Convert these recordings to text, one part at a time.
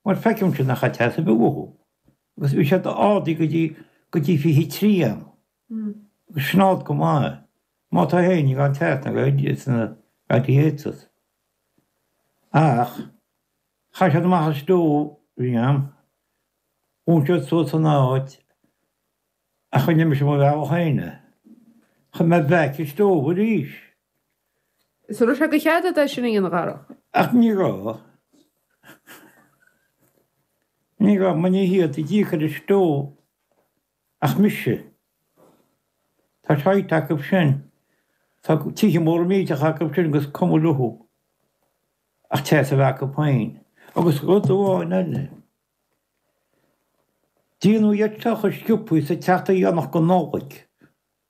Mar feicimse nach raibh teas ar bith uathu. Agus bhí siad ardaithe go dtí, go dtí 23 am. Agus sin ard go maith. Má tá éinne gan teas na sna radiators. Ach chaith siad amach an stove a bhí a'm. Dhún siad suas an áit ach rinne mise mo bhealach féin é. Chuir mé back an stove arís. Is an raibh sé de chead agat é sin a dhéanamh a Dharach? Ach ní raibh. Ní raibh, mar ní hiad a d'íoc ar an stove ach mise. Tá shite acu sin. Tá tithe móra millteacha acu sin agus cuma leo. Ach teas a bheith acu féin. Agus rud amháin eile. Déanadh iad seo chomh sciobtha sa tseachtain dheireanach de Nollaig.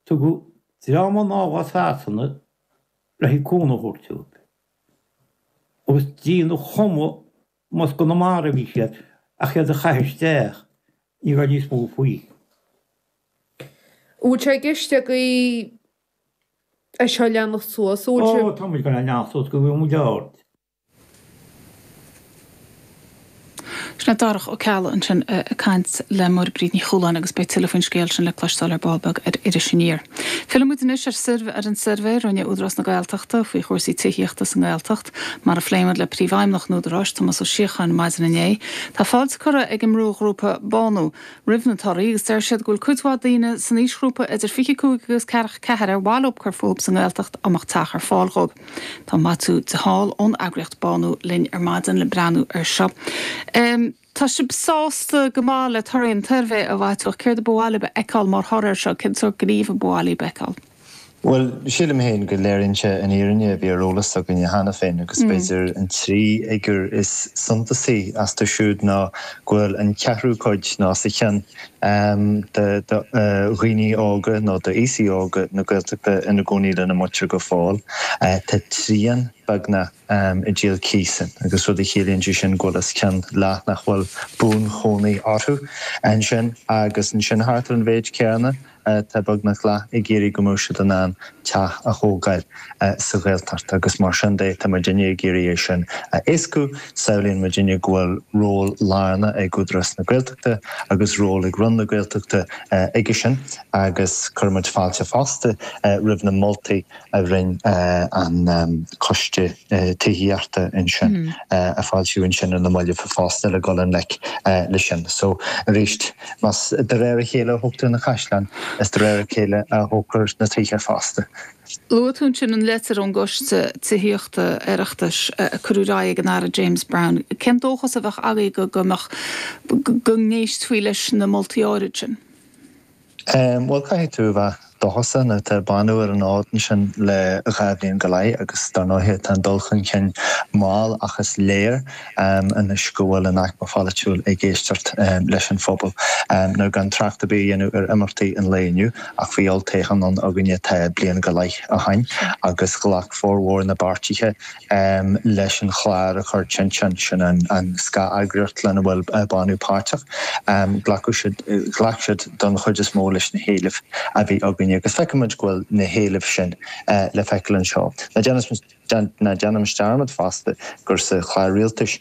Tugadh dream anall as Sasana le haghaidh cúnamh a thabhairt dóibh. Agus déanadh chuma más i gConamara a bhí siad ach iad a chaitheamh isteach, ní raibh níos mó faoi. An bhfuil sé i gceist agaibh é seo a leanacht suas? Ó, tá muid ag dul a leanacht suas go bhfuil muid ard. Sin é Darach Ó Ceallaigh ansin ag caint le Máire Bríd Ní Chualáin agus beidh tuilleadh faoin scéal sin le cloisteáil ar ball beag ar Iris Aniar. Fillfidh muid anois ar ar an suirbhé a rinne Údarás na Gaeltachta faoi chúrsaí tithíochta sa nGaeltacht, mar a phléigh muid le Príomhfheidhmeannach an Údaráis, Tomás Ó Síocháin, maidin inné. Tá fáilte curtha ag an mbrúghrúpa Bánú roimh na torthaí agus deir siad go bhfuil cuid mhaith daoine san aoisghrúpa idir 25 agus 44 ar mhaith leo cur fúthu sa nGaeltacht dá mbeadh teach ar fáil dhóibh. Tá Maitiú de Hál ón eagraíocht Bánú linn ar maidin le breathnú air seo. Tá sibh sásta go maith le torthaí an tsuirbhé, a Mhaitiú, ach céard a ba mhaith libh a fheiceáil mar thoradh air seo? Cén sórt gníomh a ba mhaith libh a fheiceáil? Bhuel, sílim féin go léiríonn sé an fhírinne a bhí ar eolas againne cheana féin agus b'fhéidir an trí fhigiúr is suntasaí astu siúd ná go bhfuil an ceathrú cuid nó os a chionn de dhaoine óga nó d'aosaigh óga na Gaeltachta ina gcónaí lena muintir go fóill. Tá trian, beagnach, ag díol cíosa agus rud a chiallaíonn sé sin go bhfuil os cionn leath nach bhfuil buanchónaí orthu ansin agus ansin thart ar an mhéid céanna Tá beagnach leath ag iarraidh go mbeadh siad in ann teach a thógáil sa Ghaeltacht agus mar sin de tá muidinne ag iarraidh é sin a éascú. Samhlaíonn muidinne go bhfuil ról lárnach ag Údarás na Gaeltachta agus ról ag Roinn na Gaeltachta aige sin agus cuireann muid fáilte fosta roimh na moltaí a rinne an Coiste Tithíochta ansin, a foilsíodh ansin ar na mallaibh fosta le dul i ngleic leis sin. So, arís, más de réir a chéile a thógtar na caisleáin, is de réir a chéile a thógtar na tithe fosta. Luaigh tú ansin an litir ón gCoiste Tithíochta Oireachtais a cuireadh ar aghaidh ag an Aire James Browne. Cén dóchas a bheadh agaibh go go mbeadh, go n-éistfí leis na moltaí áirid sin? Bhuel, caithfidh tú a bheith dóchasach now tá Bánú ar an fhód ansin le 2 bhliain go leith agus dar ndóighe tá an dul chun cinn mall ach is léir anois go bhfuil an aicme pholaitiúil ag éisteacht leis an phobal. Now gan trácht ar bith a dhéanamh ar imeachtaí an lae inniu ach bhí olltoghchán ann againne tá bliain go leith ó shin agus ghlac formhór na bpáirtithe leis an chlár a chuir Tinteán, sin an scáth-eagraíocht lena bhfuil Bánú páirteach. Glacadh siad, ghlac siad don chuid is mó leis na héilimh a bhí againne agus feicimid go bhfuil na héilimh sin le feiceáil anseo. Ná déanaimis dearmad fosta gur sa chlár rialtais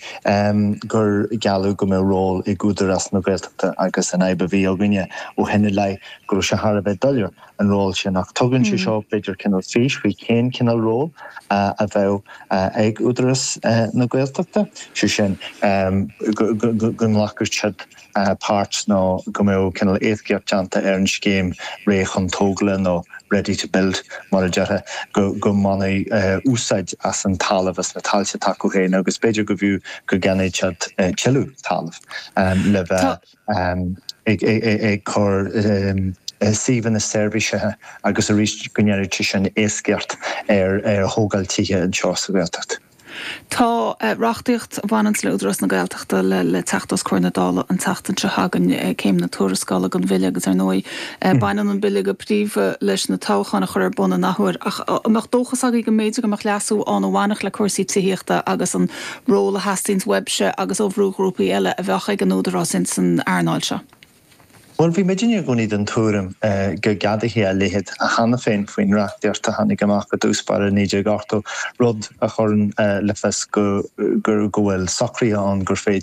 gur gealladh go mbeadh ról ag Údarás na Gaeltachta agus an fhadhb a bhí againne ó shin i leith go raibh sé thar a bheith doiléir an ról sin ach tugann sé seo b'fhéidir cineál fís faoi cén cineál ról a bheadh ag Údarás na Gaeltachta, sé sin go nglacfadh siad páirt nó go mbeadh cineál éascaíocht déanta ar an scéim Réidh chun Tógála nó Ready to Build mar a déarfá, go mbainfí úsáid as an talamh, as na tailte atá acu féin agus b'fhéidir go bhfiú go gceannódh siad tuilleadh talaimh le bheith ag cur suíomhanna seirbhísithe agus arís go ndéanfadh sé sin éascaíocht ar thógáil tithe anseo sa Ghaeltacht. Tá reachtaíocht a bhaineanns le Údarás na Gaeltachta le teacht os comhair na Dála an tseachtain seo chugainn, céim na tuarascála don bhille agus ar ndóigh baineann an bille go príomha leis na toghcháin a chur ar bun an athuair. Ach an mbeadh dóchas agaibh go mb'fhéidir go mbeadh leasú ann a bhainfeadh le cúrsaí tithíochta agus an ról a theastaíonns uaibhse agus ó bhrúghrúpaí eile a bheadh ag an Údarás ins an earnáil seo. Bhuel, bhí muidinne i gcónaí den tuairim go gceadófaí a leithéid cheana féin faoin reachtaíocht a tháinig amach i dtús báire 1980, rud a chuireann le fios go go bhfuil socruithe ann gur féidir.